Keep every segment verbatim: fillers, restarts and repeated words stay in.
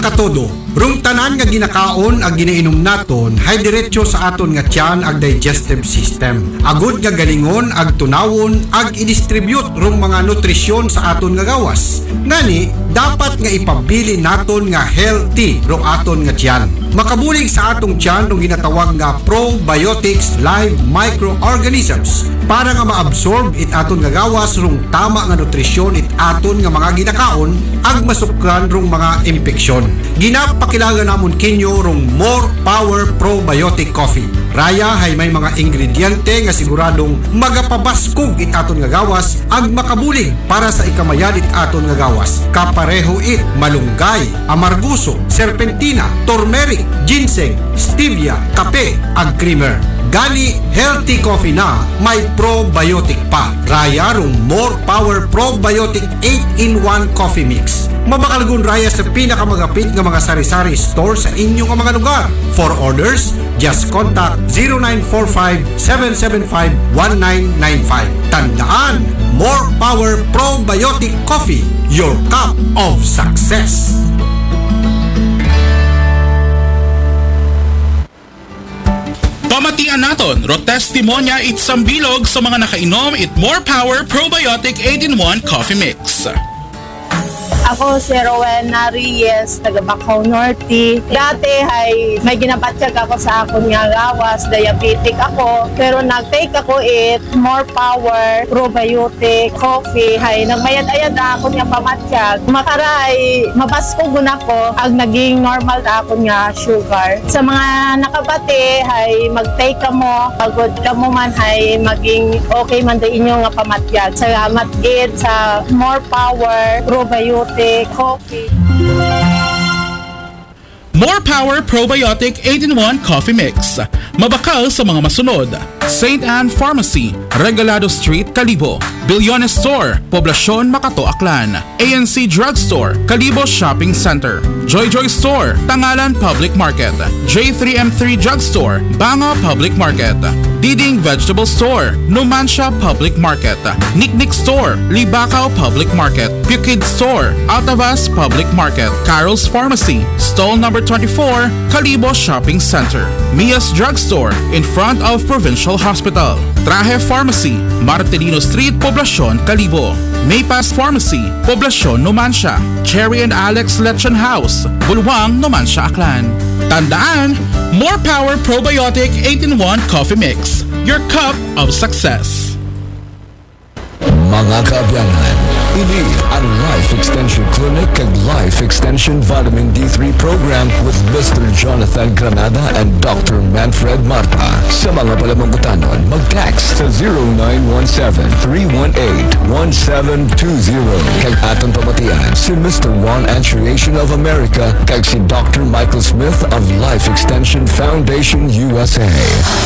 Katodo, rong tanan nga ginakaon ag ginainom naton hay diretso sa aton nga tiyan ag digestive system. Agod nga galingon ag tunawon ag i-distribute rong mga nutrisyon sa aton nga gawas. Ngani, dapat nga ipabilin naton nga healthy rong aton nga tiyan. Makabulig sa atong tiyan rong ginatawag nga probiotics live microorganisms para nga maabsorb it aton nga gawas rong tama nga nutrisyon it aton nga mga ginakaon ag masukran rong mga impeksyon. Ginapakilala namon kinyo rong More Power Probiotic Coffee. Raya hay may mga ingrediente nga siguradong magapabaskog it aton nga gawas ag makabulig para sa ikamayad it aton nga gawas. Kapareho it malunggay, amarguso, serpentina, turmeric, ginseng, stevia, kape, ag creamer. Gani, healthy coffee na may probiotic pa. Raya rong More Power Probiotic eight-in-one Coffee Mix. Mabakalgon raya sa pinakamagapit nga mga sari-sari store sa inyo nga mga lugar. For orders, just contact zero nine four five, seven seven five, one nine nine five. Tandaan, More Power Probiotic Coffee, your cup of success. Pamatian naton, ro testimonya it sambilog sa mga nakainom it More Power Probiotic eight-in-one Coffee Mix. Ako si Rowena Reyes, taga Bacau Norte. Dati ay may ginabatyag ako sa akon nga gawas, diabetic ako. Pero nag-take ako it More Power Probiotic Coffee, hay nagmayad-ayad na akon nga pamatyag. Makaray, mabaskog na ako ag naging normal na akon nga sugar. Sa mga nakabati, hay mag-take kamo, pagod kamo man, hay maging okay man da inyo nga pamatyag. Salamat gid sa More Power Probiotic Coffee. More Power Probiotic eight-in-one Coffee Mix. Mabakal sa mga masunod. Saint Anne Pharmacy, Regalado Street, Kalibo. Billones Store, Poblacion, Makato, Aklan. A N C Drugstore, Kalibo Shopping Center. Joy Joy Store, Tangalan Public Market. J three M three Drugstore, Banga Public Market. Diding Vegetable Store, Numancia Public Market. Niknik Store, Libacao Public Market. Pukid Store, Altavas Public Market. Carol's Pharmacy, Stall Number twenty-four, Kalibo Shopping Center. Mia's Drugstore, in front of Provincial Hospital. Trahe Pharmacy, Martelino Street, Poblacion, Kalibo. Maypass Pharmacy, Poblacion, Numancia. Cherry and Alex Lechon House, Bulwang, Numancia, Aklan. Tandaan, More Power Probiotic eight-in-one Coffee Mix, your cup of success. Mga kaabyanan, ini ang Life Extension Clinic kag Life Extension Vitamin D three Program with Mister Jonathan Granada and Doctor Manfred Marta. Sa mga palamangkutanon, mag-text sa zero nine one seven, three one eight, one seven two zero. Kag aton pamatian si Mister Ron Antriation of America kag si Doctor Michael Smith of Life Extension Foundation U S A.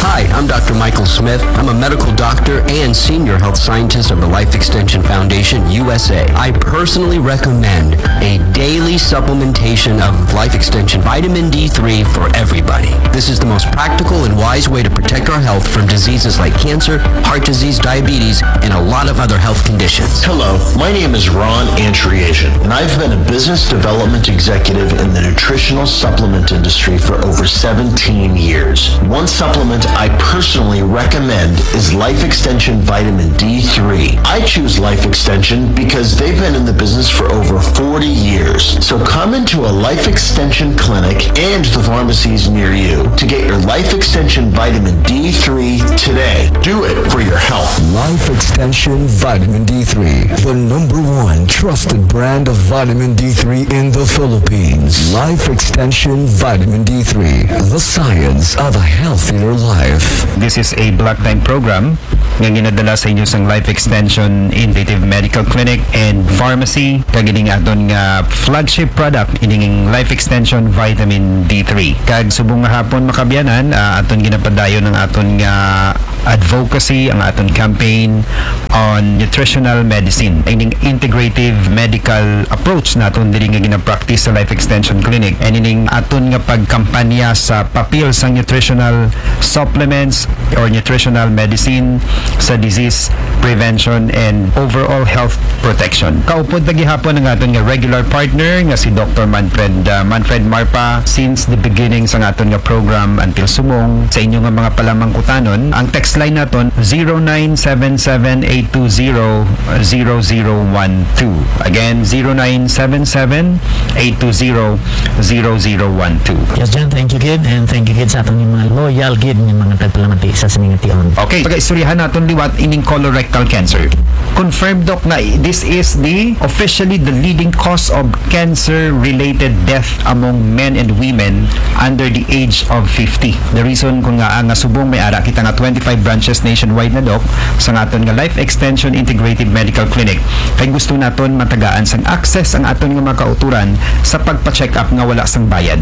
Hi, I'm Doctor Michael Smith. I'm a medical doctor and senior health scientist of the Life Extension Foundation U S A. I personally recommend a daily supplementation of Life Extension Vitamin D three for everybody. This is the most practical and wise way to protect our health from diseases like cancer, heart disease, diabetes, and a lot of other health conditions. Hello, my name is Ron Antriation, and I've been a business development executive in the nutritional supplement industry for over seventeen years. One supplement I personally recommend is Life Extension Vitamin D three. I choose Life Extension because they've been in the business for over forty years. So come into a Life Extension clinic and the pharmacies near you to get your Life Extension Vitamin D three today. Do it for your health. Life Extension Vitamin D three, the number one trusted brand of vitamin D three in the Philippines. Life Extension Vitamin D three, the science of a healthier life. This is a block time program nga ginadala sa inyo sang Life Extension Integrative Medical Clinic and Pharmacy, kag ining aton nga flagship product, ining Life Extension Vitamin D three. Kag subong nga hapon, mga kaabyanan, ah, aton ginapadayon ang aton nga advocacy, ang aton campaign on nutritional medicine, ining integrative medical approach naton diri nga ginapractice sa Life Extension Clinic, and ining aton nga pagkampanya sa papel sang nutritional supplements or nutritional medicine sa disease prevention and overall health protection. Kaupod pa gihapon ang aton nga regular part partner nga si Doktor Manfred, ah, Manfred Marpa since the beginning sa aton nga program until subong. Sa inyo nga mga palamangkutanon, ang text line naton zero nine seven seven eight two zero zero zero one two. Again, zero nine seven seven eight two zero zero zero one two. Yes, Jan, thank you gid, and thank you gid sa aton mga loyal gid nga mga tagpalamati sa sining tion. Okay, pagaistoryahan naton liwat ining colorectal cancer. Confirmed, Doc, nga this is the officially the leading cause of cancer-related death among men and women under the age of fifty. The reason kung nga, ah, nga subong may ara kita nga twenty-five branches nationwide na, Doc, sa aton nga Life Extension Integrated Medical Clinic. Kay gusto naton matagaan sang access ang aton nga mga kauturan sa pagpa-check up nga wala sang bayad.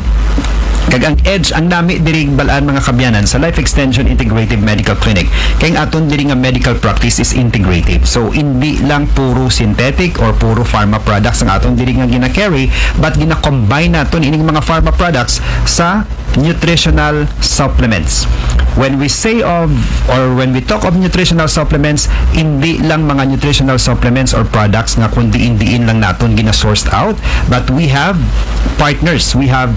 Kag ang edge, ang nami diri bal-an, mga kaabyanan, sa Life Extension Integrative Medical Clinic, kay ang aton diri nga medical practice is integrative. So, hindi lang puro synthetic or puro pharma products ang aton diri nga gina-carry, but gina-combine naton ining mga pharma products sa nutritional supplements. When we say of, or when we talk of nutritional supplements, hindi lang mga nutritional supplements or products nga kung diin-diin lang naton gina-sourced out, but we have partners, we have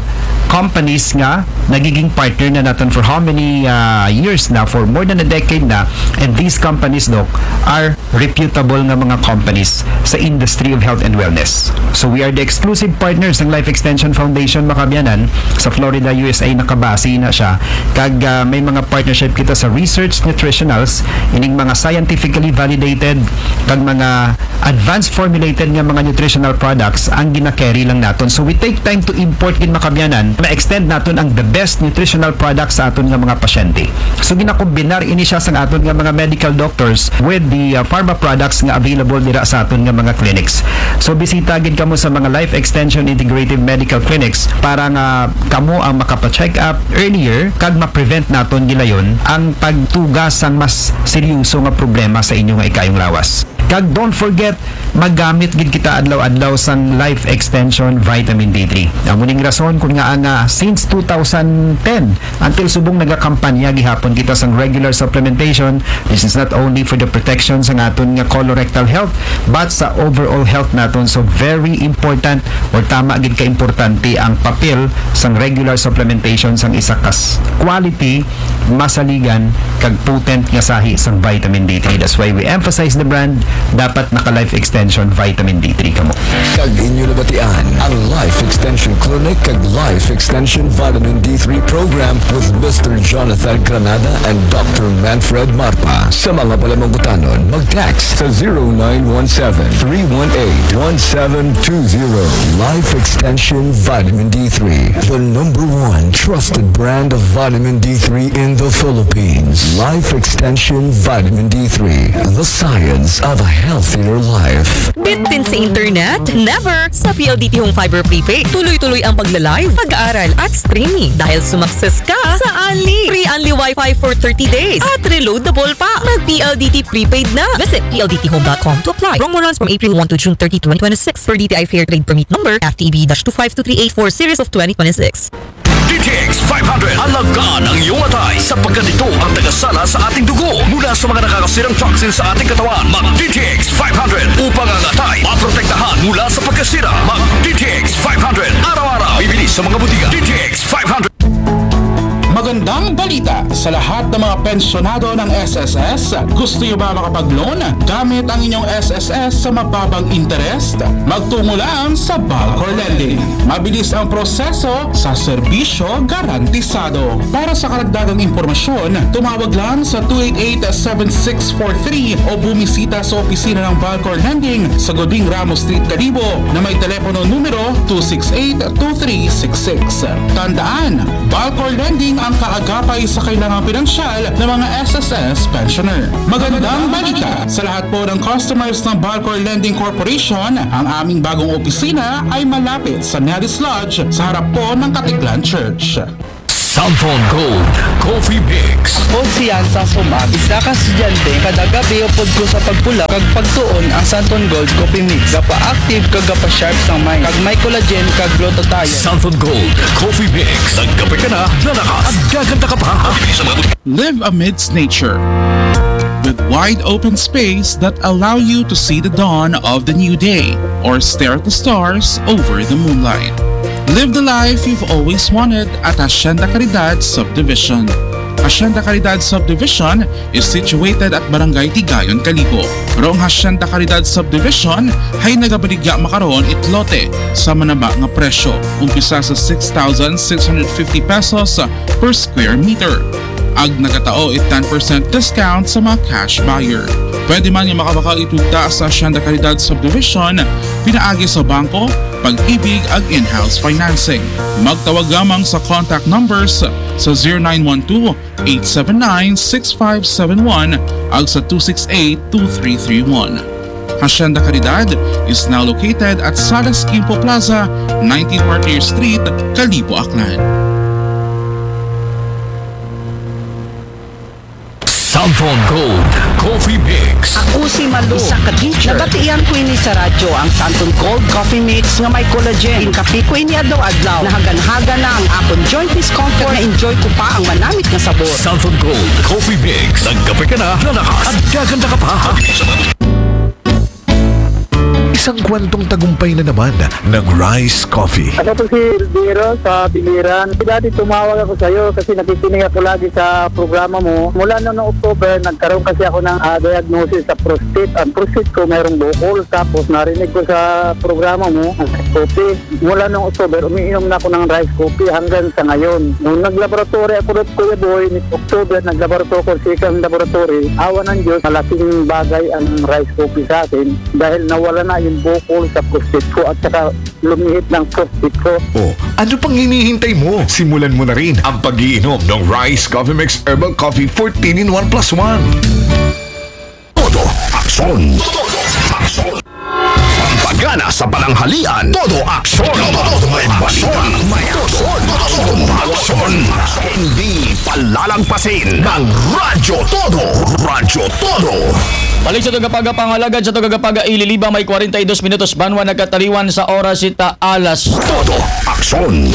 companies nga nagiging partner na naton for how many, ah, years na, for more than a decade na, and these companies, Doc, are reputable nga mga companies sa industry of health and wellness. So we are the exclusive partners ng Life Extension Foundation, mga kaabyanan, sa Florida, U S A, nakabase na siya. Kag, ah, may mga partnership kita sa research nutritionals, ining mga scientifically validated, kag mga advanced formulated nga mga nutritional products ang gina-carry lang naton. So we take time to import gid, mga kaabyanan, ma-extend naton ang the best nutritional products sa aton nga mga pasyente. So ginakombinar ini siya sa aton nga mga medical doctors with the, uh, pharma products nga available dira sa aton nga mga clinics. So bisita gid kamo sa mga Life Extension Integrative Medical Clinics para nga kamo ang makapa-check up earlier kag ma-prevent naton gilayon ang pagtuga sang mas seryoso nga problema sa inyo nga ikayong lawas. Kag don't forget, magamit gid kita adlaw-adlaw sang Life Extension Vitamin D three. Amo ning rason kun ngaa nga since two thousand ten until subong nagakampanya gihapon kita sang regular supplementation. This is not only for the protection sa aton nga colorectal health, but sa overall health naton. So very important, or tama gid ka importante, ang papel sang regular supplementation sang isa ka s-, quality, masaligan, kag potent nga sahi sang vitamin D three. That's why we emphasize the brand. Dapat naka Life Extension Vitamin D three kamo. Kag inyo nabatian ang Life Extension Clinic kag Life Extension Vitamin D three Program with Mister Jonathan Granada and Doctor Manfred Marpa. Sa mga palamangkutanon, mag-text sa zero nine one seven, three one eight, one seven two zero. Life Extension Vitamin D three, the number one trusted brand of vitamin D three in the Philippines. Life Extension Vitamin D three, the science of a healthier life. Bitin sa internet? Never! Sa P L D T Home Fiber Prepaid, tuloy-tuloy ang pagla-live, pag-aaral at streaming dahil sumakses ka sa Unli. Free Unli Wi-Fi for thirty days at reloadable pa. Mag P L D T Prepaid na. Visit P L D T home dot com to apply. Promo runs from April one to June thirty, twenty twenty-six, per D T I Fair Trade Permit Number, F T E B dash two five two three eight four, series of twenty twenty-six. D T X five hundred, alagaan ang iyong atay sapagkat ito ang tagasala sa ating dugo mula sa mga nakakasirang toxin sa ating katawan. Mag D T X five hundred upang ang atay maprotektahan mula sa pagkasira. Mag D T X five hundred araw-araw. Bibili sa mga butika. D T X five hundred. Magandang balita sa lahat ng mga pensyonado ng S S S. Gusto niyo ba makapag-loan gamit ang inyong S S S sa mababang interest? Magtungo lang sa Balcor Lending. Mabilis ang proseso sa serbisyo garantisado. Para sa karagdagang impormasyon, tumawag lang sa two eight eight, seven six four three o bumisita sa opisina ng Balcor Lending sa Goding Ramos Street, Kalibo na may telepono numero two six eight, two three six six. Tandaan, Balcor Lending ang kaagapay sa kailangang pinansyal ng mga S S S pensioner. Magandang balita sa lahat po ng customers ng Balcor Lending Corporation, ang aming bagong opisina ay malapit sa Nelly's Lodge sa harap po ng Katiklan Church. Samson Gold Coffee Mix. Ako si Yansang Sumag, isa ka estudyante. Kada gabi, upod ko sa pagpulaw kag pagtuon ang Santon Gold Coffee Mix. Gapa-active kag gapa-sharp sang mind. Kag may collagen kag glutathione. Santon Gold Coffee Mix. Nagkape ka na, lalakas at gaganda ka pa. Mabibili sa mga butika. Live amidst nature. Wide open space that allow you to see the dawn of the new day or stare at the stars over the moonlight. Live the life you've always wanted at Hacienda Caridad Subdivision. Hacienda Caridad Subdivision is situated at Barangay Tigayon, Kalibo. Rong Hacienda Caridad Subdivision ay nagabaligya makaron it lote sa manaba nga presyo, umpisa sa six thousand six hundred fifty pesos per square meter. Ag nagatao it ten percent discount sa mga cash buyer. Pwede man nga makabakal itugta sa Hacienda Caridad Subdivision pinaagi sa bangko, Pag-ibig ag in-house financing. Magtawag lamang sa contact numbers sa zero nine one two, eight seven nine, six five seven one ag sa two six eight, two three three one. Hacienda Caridad is now located at Salas Quimpo Plaza, nineteen Martyr Street, Kalibo, Aklan. Samson Gold Coffee Mix. Ako si Malu, isa ka teacher. Nabatian ko ini sa radyo, ang Santon Gold Coffee Mix nga may collagen. Inkape ko ini adlaw-adlaw. Nahagan-hagan na ang akon joint discomfort. Na-enjoy ko pa ang manamit nga sabor. Santon Gold Coffee Mix. Nagkape ka na, lalakas at gaganda ka pa. Isang kwentong tagumpay na naman ng Rice Coffee. Ako po si Elvira sa Biliran. Dati tumawag ako sa iyo kasi nakikinig ako lagi sa programa mo. Mula noong October, nagkaroon kasi ako ng ah, diagnosis sa prostate. Ang prostate ko mayroong bukol. Tapos narinig ko sa programa mo, ang rice coffee. Mula noong October, umiinom na ako ng rice coffee hanggang sa ngayon. Nung naglaboratory ako doon, Kuya Boy, ni October, naglaboratory ako sa second laboratory. Awa ng Diyos, malaking bagay ang rice coffee sa akin dahil nawala na yung bukol sa prostate ko at saka lumihit ng prostate ko. O, ano pang hinihintay mo? Simulan mo na rin ang pag-iinom ng Rice Coffee Mix Herbal Coffee fourteen in one plus one. Todo aksyon. Todo aksyon. Pampagana sa pananghalian. Todo aksyon. Todo may balita. May aksyon. Todo aksyon. Hindi palalagpasin ng Radyo Todo. Radyo Todo. Balik sa tugapag pangalagad sa tugapag ililiba may kwarenta y dos minutos banwa nakataliwan sa oras ita alas. Todo aksyon.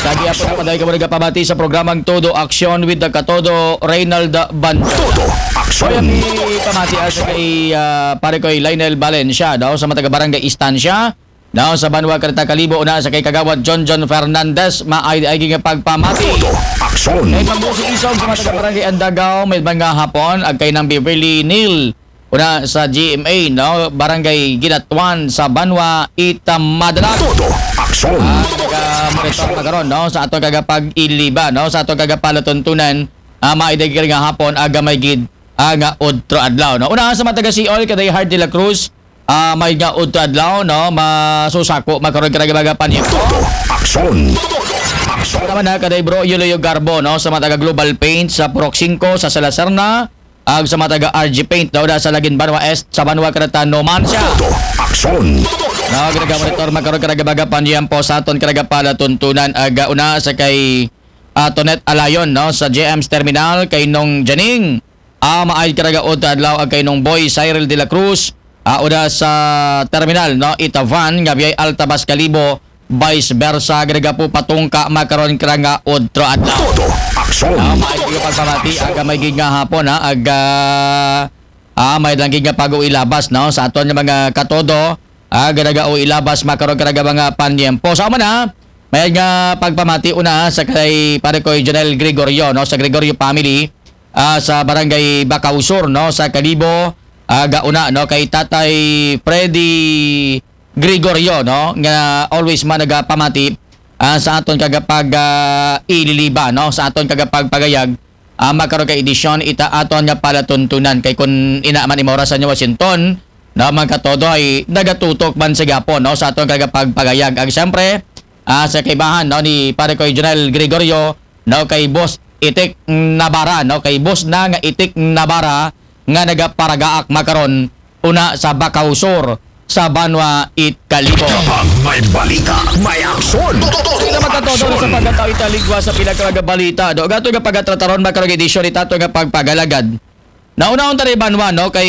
Lagi ako na paday ka mga pamati sa programang Todo Aksyon with the Katodo, Reynald Banjo. Todo Kaya aksyon. ni pamati sa kay ah, pare ko Lionel Valencia daw sa mataga barangay Estancia daw sa Banwa Karita Kalibo una sa kay Kagawad John John Fernandez maay ay nga pagpamati. Todo aksyon. Kay Pambusi Isog sa mataga barangay Andagaw may mga hapon ag kay nang Beverly Neil una sa G M A no barangay Ginatuan sa Banwa Itamadala. Todo aksyon. Monitor na karon no sa ato kagapag iliba no sa ato kagapalatuntunan ah, maay dagkir nga hapon aga may gid ah, nga udro adlaw no una sa mataga Siol kaday Hard de la Cruz ah, may nga udro adlaw no masusako makaron ka nagabaga panyo. Todo aksyon. Todo aksyon. Tama na kaday bro Yuloyo Garbo no sa mataga Global Paint sa Purok singko sa Salazar na ag sa mataga R G Paint daw da sa Lagin Banwa Est sa Banwa Cretano Mansya. Todo aksyon. Nagregamonitor makaron karagabaga panyempo sa aton karagapala tuntunan aga una sa kay ah, Tonet Alayon no sa J M's Terminal kay Nong Janing. Ah, maay karagaod adlaw ag kay Nong Boy Cyril de la Cruz. Ah, una sa terminal no Itavan nga biyay Altabas Kalibo vice versa ganaga po patungka makaron kara nga udro adlaw. Todo aksyon. Ah, maay nga pagpamati aga may gid nga hapon ha aga ah, may lang gid nga pag-uilabas no sa aton nga mga katodo ah, ganaga o ilabas makaron karaga mga panyempo sa man ha may nga pagpamati una sa kay pare ko Jonel Gregorio no sa Gregorio family ah, sa barangay Bacau Sur no sa Kalibo ah, gauna no kay Tatay Freddy Gregorio no nga always man nagapamati ah, sa aton kagapag ah, ililiba no sa aton kagapagpagayag ah, makaron ka edisyon ita aton nga palatuntunan kay kun ina man imo orasan ni Washington no mga katodo ay nagatutok man sa gapon no sa aton kagapagpagayag ag siyempre ah, sa kaibahan no ni pare ko Jonel Gregorio no kay Boss Itik Nabara no kay Boss na nga Itik Nabara nga nagaparagaak makaron una sa Bacau Sur sa Banwa it Kalibo. Kapag may balita, may aksyon. Todo Ito magkatodo sa pagkatao italigwa sa pinakagabalita. Do gato nga pagkatrataron makaron edisyon itato nga pagpagalagad. Naunahon ta rin banwa no kay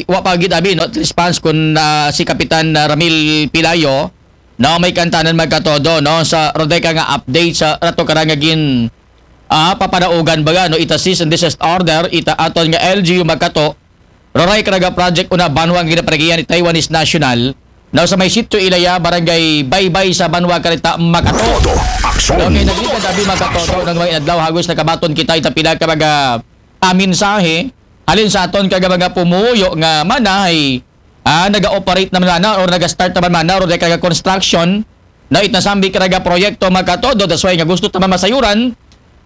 wa pa gid abi no response kun ah, si Kapitan ah, Ramil Pilayo no may kantanan magkatodo no sa rodeka nga update sa rato karang nga gin ah, papadaugan baga no ita cease and desist order ita aton nga L G U magkato Roray karaga project una banwa nga ginapanagihan ni Taiwanese national. No, sa may Sitio Ilaya, Barangay Baybay sa banwa karita Makato. Todo aksyon. Okay, nagligad abi Makatodo ng mga inadlaw, hagos nakabaton kita ita pila ka mga ah, mensahe halin sa aton karaga mga pumuyo nga mana ay ah, naga-operate naman mana or naga-start naman mana or karaga construction na itnasambi karaga proyekto Makatodo. That's why nga gusto taman masayuran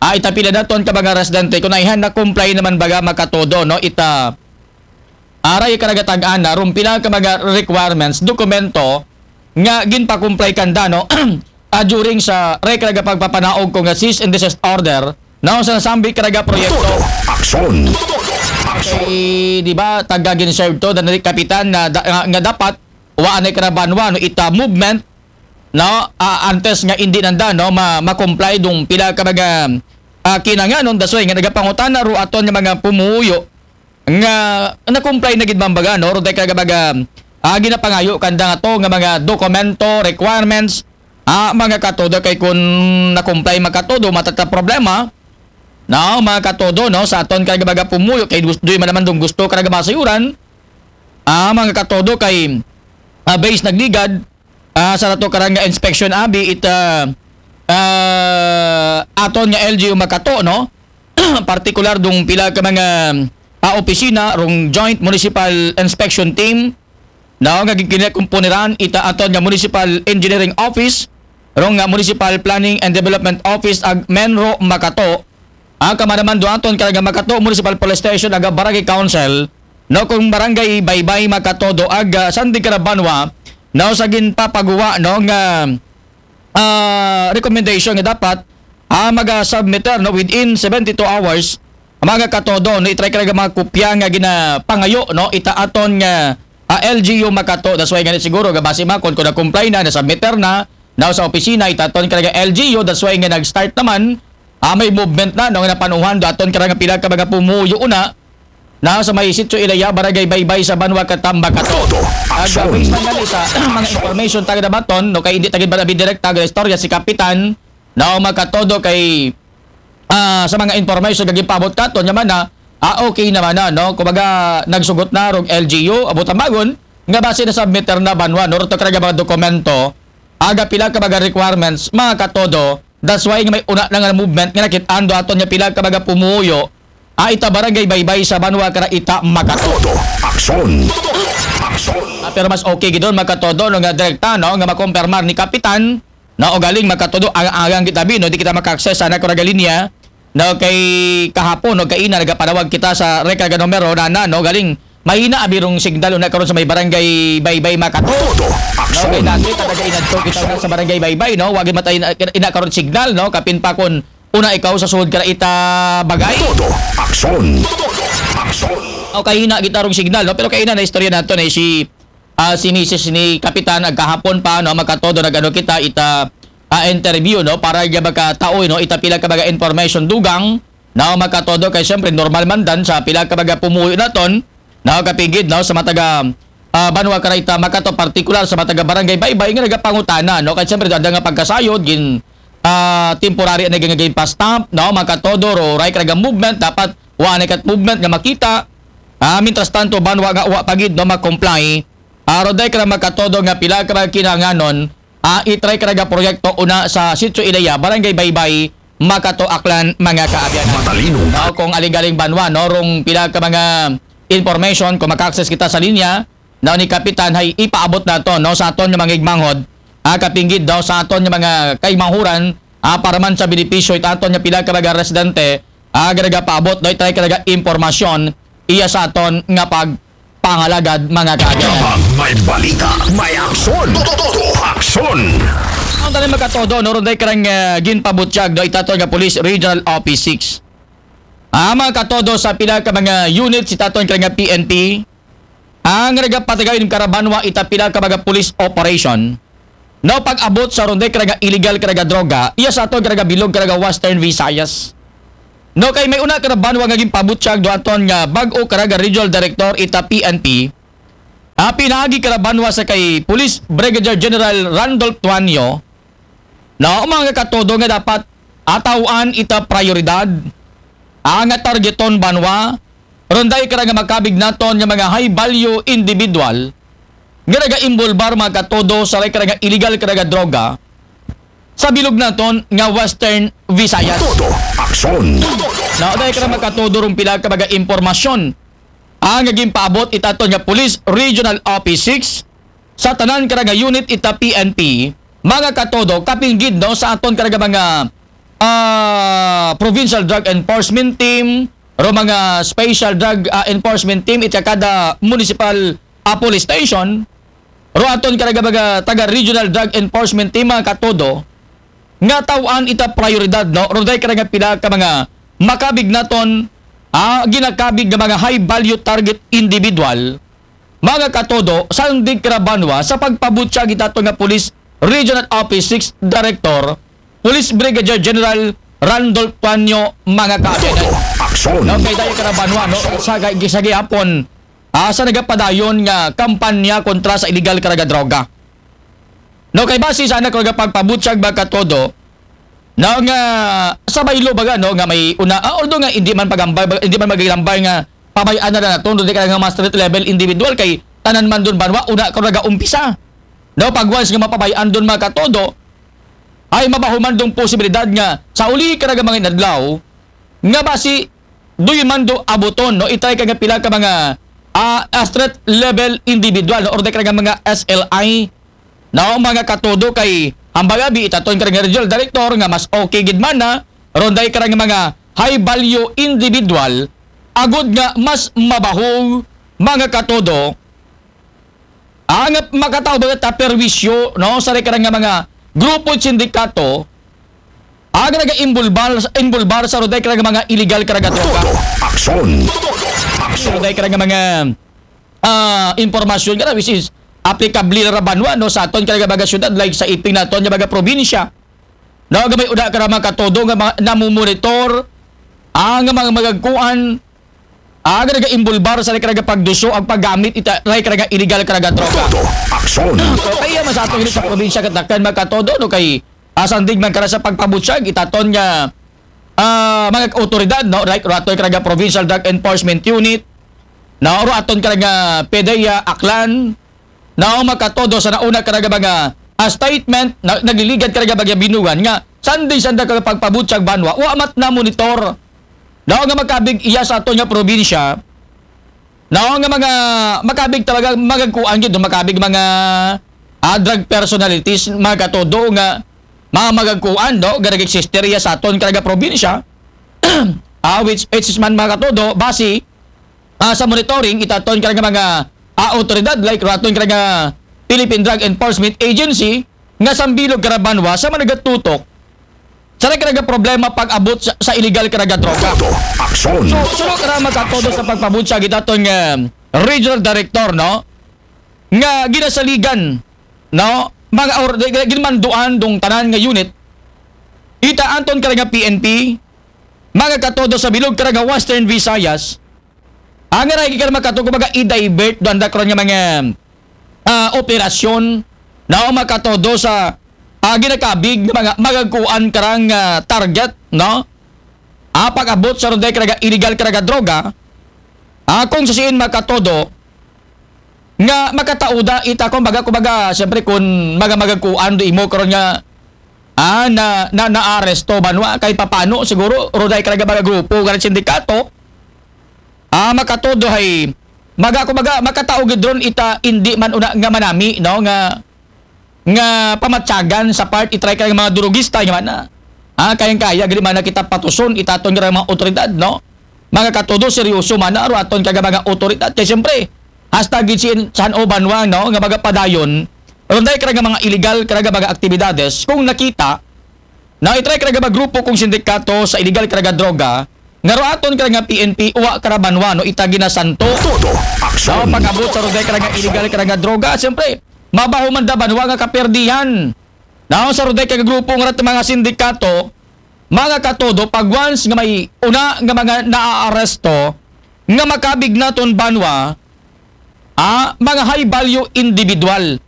ah, itapila naton ka mga residente kung naihan na comply naman baga Makatodo, no? Ita aray karaga tag-ana rumpila ka mga requirements, dokumento nga ginpa-comply kanda, no? Ah, during sa record nga pagpapanaog ko nga cease and desist order, no, sa nasambi karaga proyekto. Todo aksyon. Aksyon. Kay, di ba, taga ginserve to, dan kapitan na da, nga, nga dapat wa anay karabanwa, no, ita movement, no, ah, antes nga hindi nanda, no, ma, ma-comply dung pila ka mga ah, kinanganon, dasway nga nagapangutana ro aton nga mga pumuyo nga na-comply na gid man baga, no? Ro tayo kagabaga, ah, ginapangayo kanda nga to nga mga dokumento, requirements, ah, mga katodo kay kung na-comply Makatodo, matata problema, no, mga katodo, no, sa aton kagabaga pumuyo kay gusto man naman dong gusto karaga masayuran, ah, mga katodo kay ah, base nagligad, ah, sa nato karang nga inspection abi ita ah, aton nga L G U Makato, no? Partikular dung pila ka mga ah, opisina rong Joint Municipal Inspection Team, no, nga gikinakumpuneran ita aton nga Municipal Engineering Office, rong nga Municipal Planning and Development Office ag Menro Makato, ah, kamanaman duaton karaga Makato Municipal Police Station aga Barangay Council, no, kung Barangay Baybay Makatodo aga Sandig Karabanwa, no, sa ginpapaguwa, no, nga ah, recommendation nga dapat ah, maga-submitter, no, within seventy-two hours, mga katodo, no, itry karaga mga kopya nga ginapangayo, no, ita aton nga ah, L G U Makato. That's why nga siguro gabasi makon kung na-comply na, na-submitter na, now sa opisina ita aton karaga L G U. That's why nga nag-start naman ah, may movement na, no, nga napanuhan do aton karaga pila ka mga pumuyo una na sa may Sitio Ilaya, Barangay Baybay sa Banwa Katamba Kato. Todo aksyon. Gabay sa nga sa mga information taga dabaton, no, kay hindi tagid ba direkta ang istorya si Kapitan, no, Makatodo kay ah, sa mga information nga gipabot katon nga mana ah, okay naman na, no, kumbaga nagsugot na rog L G U abot ang bagon nga base na submitter na banwa, no, ro to karaga mga dokumento aga pila ka mga requirements, mga katodo. That's why nga may una na nga movement nga nakit-an do aton nga pila ka mga pumuyo ah, ita Barangay Baybay sa Banwa kara ita Makato. Todo aksyon. Aksyon. Ah, pero mas okay gidon Makatodo, no, nga direkta, no, nga makompirmar ni Kapitan, no, o galing Makatodo ang agang kita bi, no, di kita maka-access sana ko linya, no, kay kahapon, no, kaina nagapanawag kita sa record nga numero na, na, no, galing mahina abi rong signal una karon sa may Barangay Baybay Makato. Todo aksyon. No, kay dati talaga inadto kita sa Barangay Baybay, no, wagi matay ina karon signal, no, kapin pa kon una ikaw sa sulod ka ita bagay. Todo aksyon. Todo aksyon. O kahina kita rong signal, no, pero kaina na istorya nato na si ah, si misis ni Kapitan agkahapon pa, no, Makatodo, nagano kita ita ah, interview, no, para nga makataoy, no, ita pila ka mga information dugang, no, Makatodo, kay siyempre normal man dan sa pila ka mga pumuyo naton, no, kapigid, no, sa mataga ah, Banwa kara ita Makato, partikular sa mataga Barangay Baybay nga nagapangutana, no, kay siyempre ada nga pagkasayod gin ah, temporary na gin pa-stamp, no, Makatodo, ro ray karaga movement, dapat wa na kat movement nga makita. Ah, mientras tanto, banwa nga wa pagid, no, ma-comply, ah, ro day ka na Makatodo nga pila ka mga kinanganon ah, itry karaga proyekto una sa Sitio Ilaya, Barangay Baybay, Makato, Aklan, mga kaabyanan. Matalino. No, kung aling-galing banwa, no, rong pila ka mga information, kung maka-access kita sa linya, no, ni Kapitan, hay ipaabot nato, no, sa aton nga mga igmanghod, ah, kapinggid daw sa aton nga mga kaigmanghuran, ah, para man sa benepisyo ita aton nga pila ka mga residente, ah, karaga paabot, no, itry karaga impormasyon iya sa aton nga pag pangalagad, mga kaagyanan. Kapag may balita, may aksyon. Todo aksyon. Ang tanan, mga katodo, no, ron day karang ah, ginpabutyag, no, ita aton nga Police Regional Office six. Ah, mga katodo, sa pila ka mga unit sa ita aton karang nga P N P, ang nagapatagay ng karabanwa ita pila ka mga police operation. No, pag-abot sa ron day karaga illegal karaga droga, iya sa aton karaga bilog karaga Western Visayas. No, kay may una karabanwa nga ginpabutyag do aton nga bag-o karaga regional director ita P N P. Ah, pinaagi karabanwa sa kay Police Brigadier General Randolph Tuanyo. No, mga katodo nga dapat atawan ita prioridad. Ah, nga targeton banwa Ron day kara nga makabig naton nga mga high value individual nga nagaimbulbar, mga katodo, sa ray kara nga illegal kara nga droga sa bilog naton nga Western Visayas. Todo aksyon. Naa day kara, mga katodo, rong pila ka mga impormasyon ang nga ginpaabot itaton nga Police Regional Office six sa tanan kara nga unit ita P N P, mga katodo, kapinggid, no, sa aton kara nga mga ah, Provincial Drug Enforcement Team, ro mga Special Drug ah, Enforcement Team ita kada municipal ah, police station, ro aton kara nga mga taga Regional Drug Enforcement Team, mga katodo, nga taw-an ita prioridad, no? Ro day kara nga pila ka mga makabig naton, ah, ginakabig nga mga high value target individual, mga katodo, sandig kara banwa sa pagpabutyag itaton nga Police Regional Office six Director, Police Brigadier General Randolph Tuanyo, mga kaagianan. Todo aksyon. Okay, dayon kara banwa, no? Sa, sa gihapon, ah, sa nagapadayon nga kampanya kontra sa illegal kara nga droga. No, kay base sa anak nga pagpabutyag, mga katodo, no, nga sa baylo baga, no, nga may una, ah, although nga hindi man pagambay, hindi man magilambay nga pabay-an na lang naton, ron day kara nga mga street level individual kay tanan man dun banwa, una kara nagaumpisa. No, pag once nga mapabay-an dun, mga katodo, ay mabaho man dong posibilidad nga sa uli kara nga mga inadlaw, nga basi duy man do abuton, no? Itry ka nga pila ka mga, ah, ah, street level individual, no? Or di ka nga mga S L I, no? Mga katodo kay hambal abi itaton ka nga regional director nga mas okay gid man na, ron day ka nga mga high value individual, agud nga mas mabaho, mga katodo, ang makataw ba ta perwisyo, no, sa rekara nga mga grupo at sindikato, ang nag-involbar, involbar sa roday ka nga mga illegal ka nga droga. Todo aksyon. Sa roday ka nga mga ah, impormasyon ka na, which is applicable ra banwa, no, sa aton ka nga mga syudad, like sa iping naton nga mga probinsya. No, gamay uda ka mga katodo nga mga namumonitor ang mga magagkuan, ang nag-involbar sa rekara nga pagduso ang paggamit ita rekara nga illegal ka nga droga. Todo aksyon. So, kaya man sa aton sa probinsya katakan mga katodo, no, kay asandig man kara sa pagpabutyag itaton nga ah, mga otoridad, no, like rato ka nga Provincial Drug Enforcement Unit, no, raton ka nga PDEA Aklan, no, makatodo sa nauna ka nga mga ah, statement, na, nagliligad ka nga mga binugan nga sandig-sandig ka pagpabutyag banwa, wa mat na monitor, no, nga makabig iya sa aton nga probinsya, no, nga mga makabig talaga, magagkuan gid, no, makabig mga ah, drug personalities, mga katodo nga mga magagkuan, no, nga nag-existe riya sa aton ka nga probinsya, ah, which, which is man, mga katodo, base ah, sa monitoring itaton ka nga mga ah, otoridad, like raton ka nga Philippine Drug Enforcement Agency, nga sambilog ka banwa sa managatutok sa rekara nga problema pag-abot sa, sa illegal ka nga droga. Todo aksyon. So, suno ka mga katodo sa pagpabutyag itaton nga regional director, no, nga ginasaligan, no, mga or, ginmanduan dong tanan nga unit ita aton ka nga P N P, mga katodo, sa bilog ka nga Western Visayas, ang nga ka makatodo, mga i-divert do anda karon nga mga ah, operasyon, no, makatodo sa ah, ginakabig nga mga magagkuan karang ah, target, no? Ah, pag-abot sa roday ka nga illegal ka nga droga, ah, kung sa siin makatodo nga makatauda ita, kumbaga, kumbaga, siyempre, kung mga magagkuan do imo karon nga ah, na, na, naaresto banwa, kay papano siguro roday ka nga mga grupo, nga sindikato, ah, makatodo hay, maga, kumbaga, makatao gid ron ita, hindi man una nga manami, no, nga, nga pamatyagan sa part itry ka nga mga durugista nga man na. Ah, kayang-kaya gid man na kita patuson itaton nga mga otoridad, no? Mga katodo, seryoso man na ro aton ka nga mga otoridad. Kay siyempre, hasta gid si San Obanwang, no, nga magapadayon, ronday ka nga mga illegal ka nga mga aktibidades, kung nakita, na itry ka nga grupo kung sindikato sa illegal ka nga droga, nga ro aton ka nga P N P, uwa ka banwa, no, ita ginasanto. Todo aksyon. No, pag-abot sa roday ka nga illegal ka nga droga, siyempre, mabaho man da banwa nga kaperdihan. No, sa roday ka grupo nga rat mga sindikato, mga katodo, pag once nga may una nga mga naaaresto, nga makabig naton banwa, ah, mga high value individual.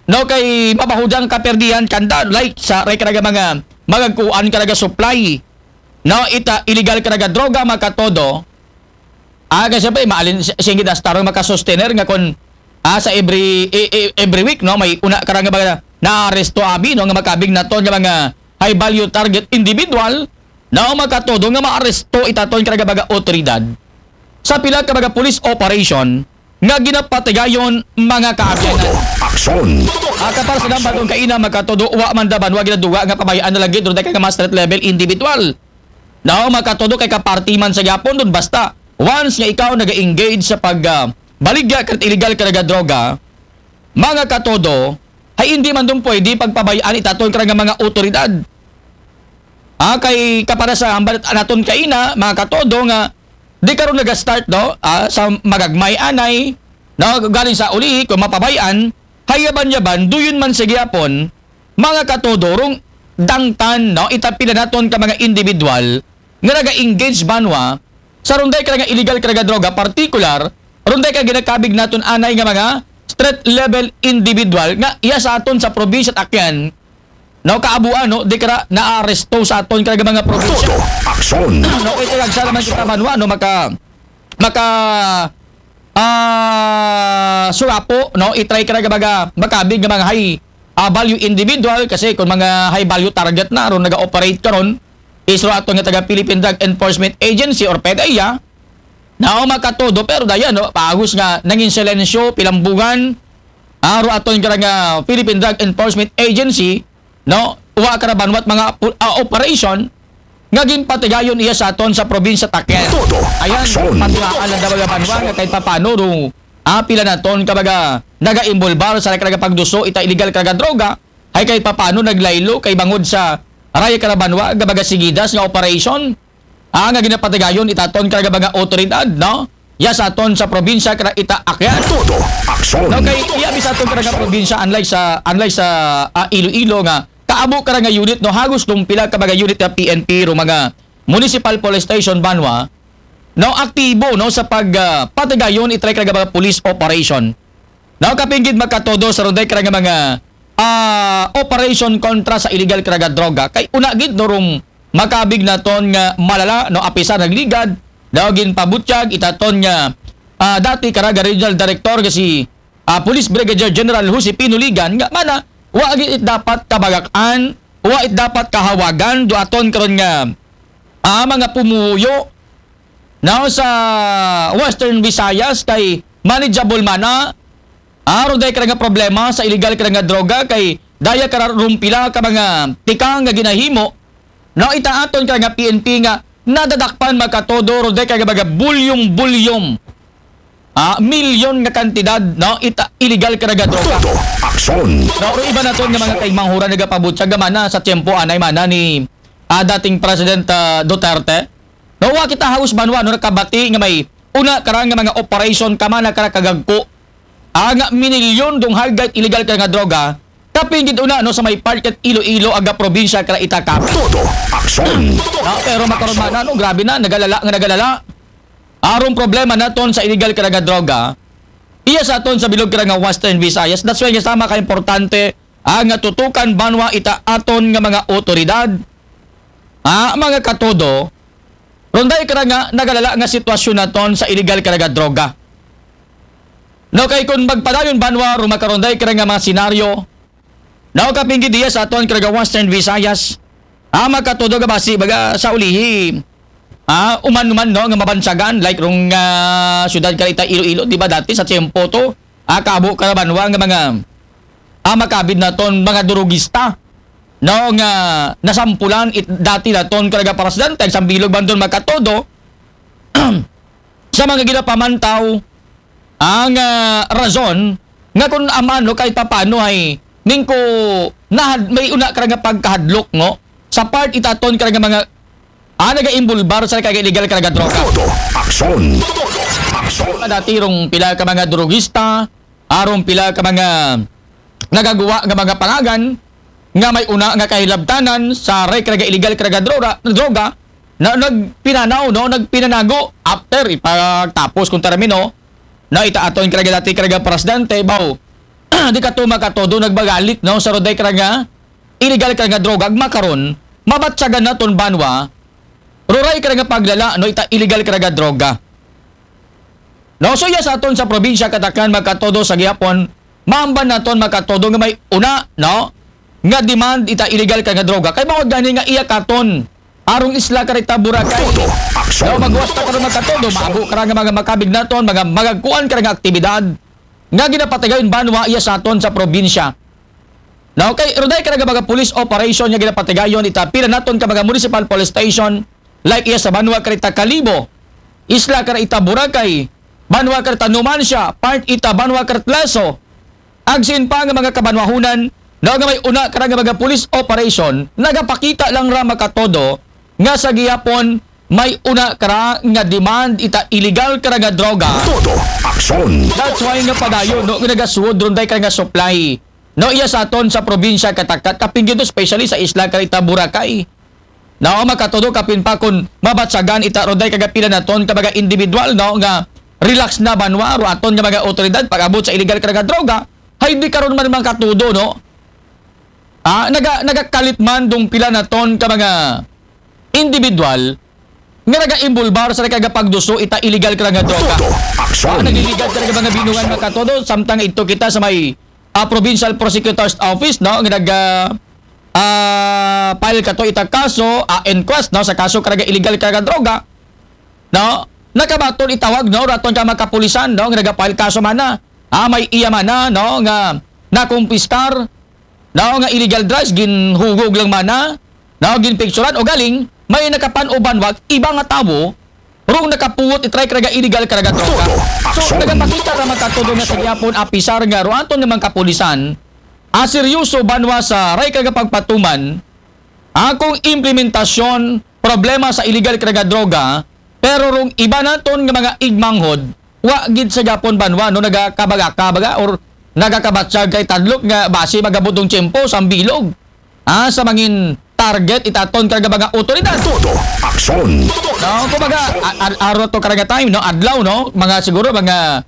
No, kay mabahudang kaperdihan kanda, like sa rekara nga mga magagkuan ka nga supply. No, ita illegal ka nga droga, mga katodo. Ah, kay siyempre, maalin, si-, sige, dastarong makasustener nga kon, ah, sa every, e-, e-, every week, no, may una ka nga mga naaresto abi, no, nga makabig naton nga mga high value target individual, no, makatudo nga maaresto itaton ka nga mga otoridad sa pila ka mga police operation nga ginapatigayon mga kaabyanan. Aksyon! Ah, kapar sa nang batong kaina, makatudo, wa man da banwa ginaduga nga pabayaan na lagi, doon ka nga mga street level individual. No, makatudo kay kaparti man sa gyapon doon, basta once nga ikaw naga-engage sa pag, ah, baligya ka illegal ka nga droga, mga katodo, ay hindi man doon pwede pagpabayaan itaton ka nga mga otoridad. Ah, kay kapara sa hambal naton kaina, mga katodo, nga di karon naga-start, no? Ah, sa magagmay anay, no? Galing sa uli, kung mapabayaan, hayaban-yaban, duyon man sa gyapon, mga katodo, rong dangtan, no? Itapila naton ka mga individual nga naga-engage banwa sa runday ka nga illegal ka nga droga, particular, runday ka ginakabig naton anay nga mga street level individual nga iya sa aton sa probinsya at Akyan, no, kaabuan, no, di kara naaresto sa aton ka nga mga probinsya. Todo aksyon. No, ito lang sa naman kita banwa, no, maka, maka, ah, surapo, no, itry ka nga mga makabig nga mga high, ah, value individual, kasi kung mga high value target na, ron naga-operate karon, isro ato nga taga Philippine Drug Enforcement Agency or PDEA, nao makatudo, pero dayan, no, pagos nga nangin silensyo, pilambugan, aro aton ka nga Philippine Drug Enforcement Agency, no, wa ka na banwat mga pu-, ah, operation nga ginpatigayon iya sa aton sa probinsya Taken. Todo ayan, aksyon. Patuhaan lang daw mga banwa nga kahit papano ro, ah, pila naton ka mga naga-involbar sa nagkagapagduso ita illegal ka nga droga, ay kahit papano naglaylo kay bangod sa raya ka na banwa nga mga sigidas nga operation, ah, nga ginapatigayon itaton ka nga mga otoridad, no? Ya sa aton sa probinsya ka ita Akyan. Todo aksyon. No, kay iya bi sa aton ka nga probinsya, unlike sa, unlike sa, ah, Iloilo nga kaabo ka nga unit, no, hagos kung pila ka mga unit nga P N P ro mga municipal police station banwa, no, aktibo, no, sa pag, ah, patigayon itry ka nga mga police operation. No, kapinggid makatodo sa runday ka nga mga, ah, operation kontra sa illegal ka nga droga. Kay una gid no rong makabig naton nga malala, no, apisan nagligad, daw ginpabutyag itaton nga, ah, dati ka nga regional director nga si, ah, Police Brigadier General Josepino Ligan nga mana, wa gid it dapat kabagakan, wa it dapat kahawagan do aton karon nga, ah, mga pumuyo, now sa Western Visayas kay manageable man na. Aron dahil ka nga problema sa illegal ka nga droga kay daya ka rumpila ka mga tikang nga ginahimo. Now itaaton ka nga P N P nga nadadakpan makatodo ro dahil ka nga mga bulyong-bulyong, ah, milyon nga kantidad, no, ita illegal ka nga droga. Todo aksyon. No, ro iba naton nga mga kaimanghuran nagapabutyag nga mana sa tiyempo anay mana ni, ah, dating President, ah, Duterte. No, wa kita haus banwa, no, nakabati nga may una karang nga mga operation ka man, nakara kagagko. Ah, nga minilyon dong hagit illegal ka nga droga. Kapingit una, no, sa may part kat Iloilo, aga probinsya, kara Itacap. Todo aksyon. No, pero makaroon man, no, grabe na, nagalala nga nagalala. Arong problema naton sa illegal ka nga droga. Iya sa aton sa bilog ka nga Western Visayas. That's why nga sama ka importante, ah, nga tutukan banwa ita aton nga mga otoridad. Ah, mga katodo, ronday ka nga nagalala nga sitwasyon naton sa illegal ka nga droga. No, kay kung magpadayon banwa, rumakaronday ka nga mga senaryo, no, kapinggi diya sa aton ka nga Western Visayas, ah, makatudo ka basi, baga sa ulihi, ah, uman-uman, no, nga mabansagan, like rong, ah, syudad ka ita Iloilo, di ba dati sa tiyempo to, ah, kabo ka banwa nga mga, ah, makabid naton mga durugista, no, nga nasampulan it, dati naton ka nga presidente, sa bilog banton makatodo, sa mga ginapamantaw, ang, ah, rason nga kung amano kahit papano ay ningko nahad-, may una ka nga pagkahadlok, no? Sa part itaton ka nga mga, ah, naga-involbar sa kag illegal ka nga droga. Todo aksyon. Aksyon. Dati rong pila ka mga drogista, arong pila ka mga nagagawa nga mga pangagan nga may una nga kahilabtanan sa rek nga illegal ka nga droga, droga na nagpinanaw, no, nagpinanago after ipagtapos kung termino na itaaton ka nga dati ka nga presidente, baw, di ka to makatodo nagbagalit, no, sa roday ka nga illegal ka nga droga, ag makaron, mabatsagan naton banwa, ruray ka nga paglala, no, ita illegal ka nga droga. No, so iya sa aton sa probinsya katakan, mga katodo, sa gihapon, maamban naton, mga katodo, nga may una, no, nga demand ita illegal ka nga droga. Kay bangod gani nga iya katon arong isla ka rita Boracay. Todo aksyon. No, magwasta ka rin, mga katodo, maabo ka ra nga mga makabig naton, mga magagkuan ka ra nga aktibidad nga ginapatigayon banwa iya sa aton sa probinsya. No, kay ruday ka nga mga police operation nga ginapatigayon ita pila naton ka mga municipal police station, like iya sa banwa ka rita Kalibo, isla ka rita Boracay, banwa ka rita Numancia, part ita banwa ka rita Lezo, agsin pa nga mga kabanwahunan, no, nga may una ka nga mga police operation, nagapakita lang ra, mga katodo, nga sa gihapon may una ka ra nga demand ita illegal ka ra nga droga. Todo aksyon. That's why nga padayon, no, nga nagasuod ron day ka nga supply. No, iya sa aton sa probinsya katakat, kapin gyud, especially sa isla ka rita Boracay. No, mga katodo, kapin pa kung mabatsagan ita roday kagapila naton ka mga individual, no, nga relax na banwa, ro aton nga mga otoridad pag-abot sa illegal ka nga droga, hay di karon man, mga katodo, no? Ah, naga, nagakalit man dong pila naton ka mga individual nga nagaimbulbar sa nagkagapagduso ita illegal ka nga droga. Todo aksyon. Ah, nag-illegal ka nga mga binungan, mga katodo, samtang ito kita sa may, ah, Provincial Prosecutor's Office, no, nga nag, ah, ah, file kato ita kaso, ah, inquest, no, sa kaso ka nga illegal ka nga droga, no, nakabaton itawag, no, raton ka mga kapulisan, no, nga nagapile kaso mana, ah, may iya mana, no, nga nakumpiskar, no, nga illegal drugs, ginhugog lang mana, no, ginpicturan, o galing, may nakapan-uban wag, iba nga tawo, rong nakapuwot itry ka nga illegal ka nga droga. Todo aksyon. So, nagapakita ra, mga katodo, nga sa gihapon, apisar nga ro aton nga mga kapulisan, ah, seryoso banwa sa ray ka nga pagpatuman, akong implementasyon, problema sa illegal ka nga droga, pero rong iba naton nga mga igmanghod, wa gid sa gihapon banwa, no, nagakabaga-kabaga or nagakabatsag kay tadlok nga basi magabutong tiyempo sa bilog. Ah, sa mangin target itaton ka nga mga otoridad. Todo aksyon. No, kumbaga, a-, a-, araw to ka nga time, no, adlaw, no, mga siguro, mga,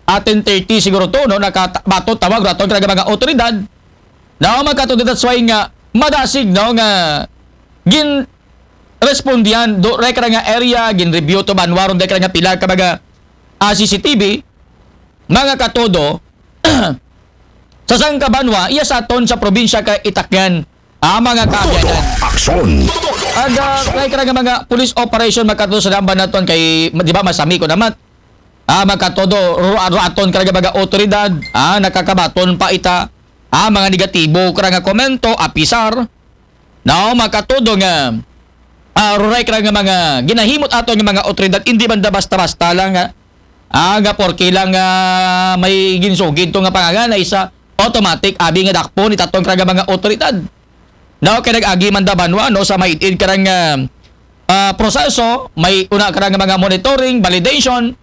ah, ten thirty siguro to, no, nakabatot tawag raton ka nga mga otoridad. No, mga katodo, that's why nga madasig, no, nga gin respondian do rek ra nga area, gin review to banwa ron dek ra nga pila ka mga, ah, C C T V, mga katodo, sa sangka banwa, iya sa aton sa probinsya ka Itakyan, ah, mga kaabyanan. Aksyon. Aga, kay ka nga mga police operation, mga katodo, sa damban naton kay, di ba, masami ko naman. Ah, mga katodo, ru-, ru-, aton ka nga mga otoridad, ah, nakakabaton pa ita, ah, mga negatibo ka nga komento, apisar, no, mga katodo nga, ah, ruray ka nga mga ginahimot ato nga mga otoridad, hindi man da basta-basta lang nga, ah, nga porke lang, ah, may ginsugid to nga pangalan ay sa automatic, abi nga dakpon itaton ka nga mga otoridad. No, kay nag-agi man da banwa, no, sa may id ka nga, ah, proseso, may una ka nga mga monitoring, validation,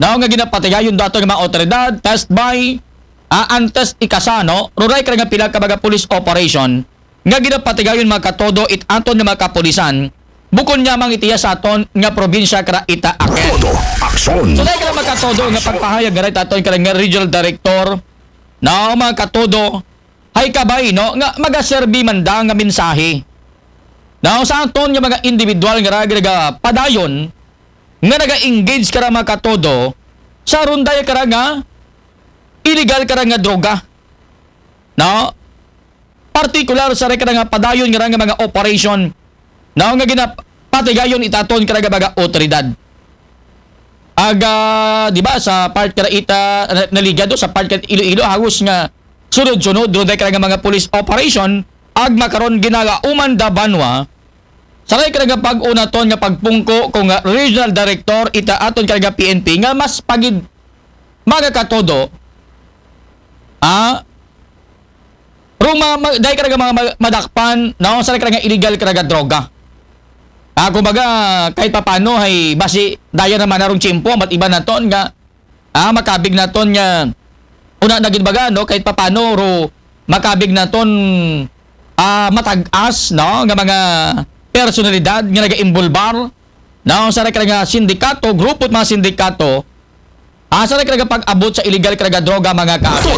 no, nga ginapatigayon dato nga mga otoridad, test by, ah, antes ikasa, no, ruray ka nga pila ka mga police operation, nga ginapatigayon mga katodo it aton nga mga kapulisan, bukon nga mang itiya sa aton nga probinsya kara ita aken. Todo aksyon. So, dahil ka mga katodo nga pagpahayag nga rin aton ka nga regional director, no, mga katodo, hay kabay, no, nga magaserbi man da nga mensahe. No, sa aton nga mga individual nga raga padayon, nga naga-engage kara mga katodo, sa runday kara nga illegal kara nga droga. No? Partikular sa rekara nga padayon nga ra nga mga operation, no, nga ginapatigayon itaton kara nga mga otoridad. Aga, di ba, sa part kara ita, na-, naligado sa part kara Iloilo, hagos nga sunod-sunod, doon tayo kara nga mga police operation, ag makaron ginagauman da banwa, sa kay kara nga pag-unaton nga pagpungko kung nga regional director ita aton kara nga P N P nga mas pagid mga katodo, ah, rong ma-, ma-, dahil kara nga mga ma-, madakpan, no, sa kara nga illegal kara nga droga. Ah, kumbaga, kahit papano, hay, basi, daya naman na rong tiyempo, mat iba naton nga, ah, makabig naton nga, una na gid baga, no, kahit papano, ro, makabig naton, ah, matag-as, no, nga mga personalidad nga naga-imbulbar, no, sa kara nga sindikato, grupo at mga sindikato, ah, sa kara nga pag-abot sa illegal kara nga droga, mga ka. Todo